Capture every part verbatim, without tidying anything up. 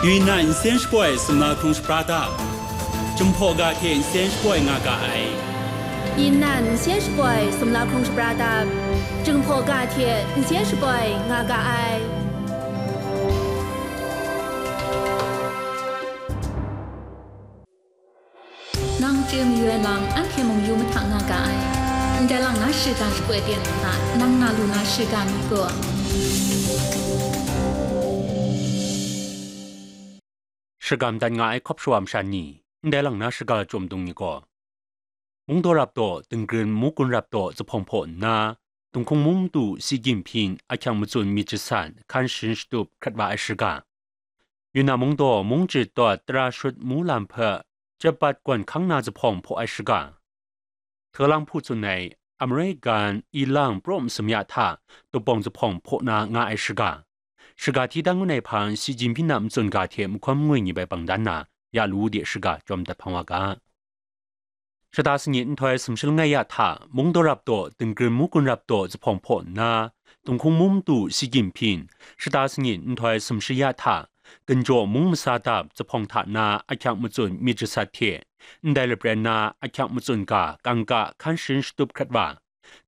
Yunnan nsen shapoi sumla hkrung shapra dap, Jinghpaw ga hte nsen shapoi nga ga ai. Yunnan nsen shapoi sumla hkrung shapra dap, Jinghpaw ga hte nsen shapoi nga ga ai. Nang chye mayu ai lam, anhte mung yu mahtang nga ga ai. Ndai lang na shiga shapoi ten hta, nang na lu na shiga mi gaw, shagam dat nga ai hkawp shawa masha ni, ndai lang na shiga lachyum dung ni gaw, Mungdaw rap daw, Dingrin Mugun rap daw, zuphpawng hpaw nna, Dinghkung mung madu si ginhpyin ahkyang matsun myit jasat hkan sharin shatup hkrat wa ai shiga, Yunnan mungdaw mung jit dawt tara shut mu lam hpe, Jepbat gawn hkang na zuphpawng hpaw ai shiga, Htalang hpu tsun ai American ilang praw masum ya hta dupawng zuphpawng hpaw na nga ai shiga, shiga hti dan ngun ai hpang si ginhpyin a matsun ga hte mahkawn mangwi ni bai bang dan na, ya lu de shiga chyawm dat hpang wa ga. Shata sanit nhtoi sumshi langai ya hta, Mungdaw rap daw, Dingrin Mugun rap daw zuphpawng hpaw nna, Dinghkung mung madu si ginhpyin, shata sanit nhtoi sumshi ya hta, Ginjaw mung masa dap zuphpawng hta na ahkyang matsun myit jasat hte, ndai lapren na ahkyang matsun ga kangka hkan sharin shatup hkrat wa,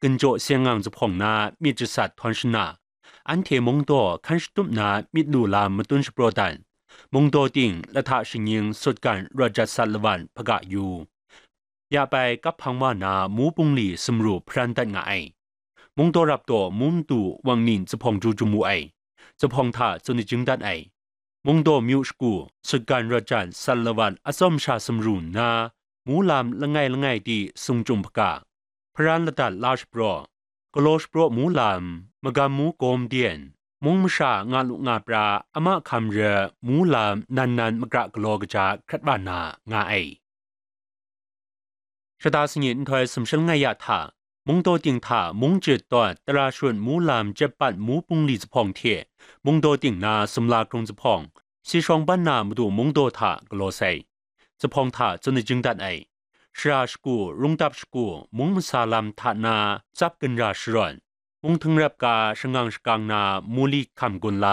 Ginjaw seng ngang zuphpawng na myit jasat htawn shana, anhte mungdaw hkan shatup na myit lu lam matun shapraw dan, mungdaw ting lahta shingnying sutgan rawt jat sat lawan hpaga yu, ya bai kap hpang wa na mu bungli sumru hparan dat nga ai. Mungdaw rap daw mung madu wang ning zuphpawng ju jum wu ai. Zuphpawng hta tsun ajing dat ai. Mungdaw myu shagu, sutgan rawt jan sat lawan atsawm sha sumru nna, mu lam langai langai di sung chyum hpaga, hparan ladat la shapraw, galaw shapraw mu lam, magam mu gawm den, mung masha nga lu nga pra ama hkam re mu lam nan nan makra galaw kaja hkrat wa na nga ai. Shata sanit nhtoi sumshi langai ya hta, mungdaw ting hta mung jit dawt tara shut mu lam Jepbat mu bungli zuphpawng hte mungdaw ting na sumla hkrung zuphpawng, si shawng ban na madu mungdaw hta galaw sai. Zuphpawng hta tsun ajing dat ai. Shara shagu, rungdap shagu, mung masa lam hta na tsap ginra sharawn, mung htingrep ga shangang shakang na muli hkam gun la,